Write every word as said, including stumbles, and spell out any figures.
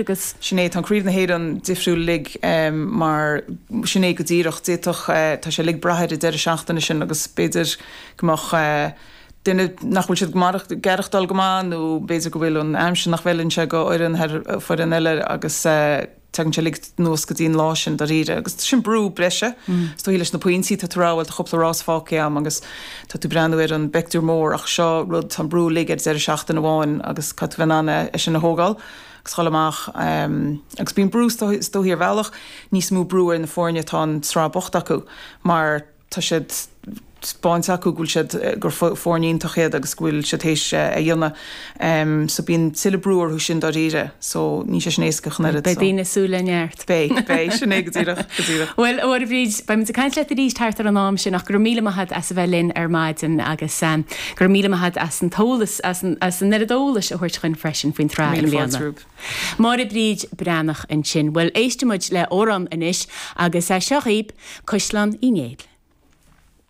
Agus Sin é tá Craobh na hÉireann difriúil uilig mar sin é go díreach d'fhéadfadh tá sé uilig brath ar an deireadh seachtaine sin agus b'fhéidir go mbeadh duine nach bhfuil siad ag aireachtáil go maith nó b'fhéidir go bhfuil an aimsir nach bhfeileann sé go fhoireann thar foireann eile agus tagann sé uilig anuas go dtí an lá sin dáiríre agus sin brú breise is dóichí leis na pointí tá tú rá bhuel tá cúpla rás fágtha agam agus tá tú breathnú ar an bpictiúr mór ach seo rud tá an brú uilig ar deireadh seachtaine amháin agus caithfidh tú bheith in ann é sin a thógáil agus dhul amach agus bíonn brú is dóichí ar bhealach níos mó brú ar na foirne atá an tsraith bocht acu mar tá siad spáinte acu go bhfuil siad gur foirne iontach iad agus go bhfuil siad théis a dhéanamh so bíonn tuilleadh brú orthu sin dáiríre so níl sé sin éasca chun oiread Beidh daoine súil le neart. Beidh, beidh, sin é go díreach, go díreach. Bhuel, a Mháire Bhríd, beidh muid ag caint leat arís thart ar an am sin ach go raibh míle maith agat as a bheith linn ar maidin agus go raibh míle maith agat as an t-eolas, as an as an oiread eolais a thabhairt chugainn freisin faoin tsraith i Míle fáilte mbliana. romhaibh. Máire Bríd Breathnach ansin. Bhuel, éistfidh muid le amhrán anois agus seo dhaoibh Caisleán Uí Néill.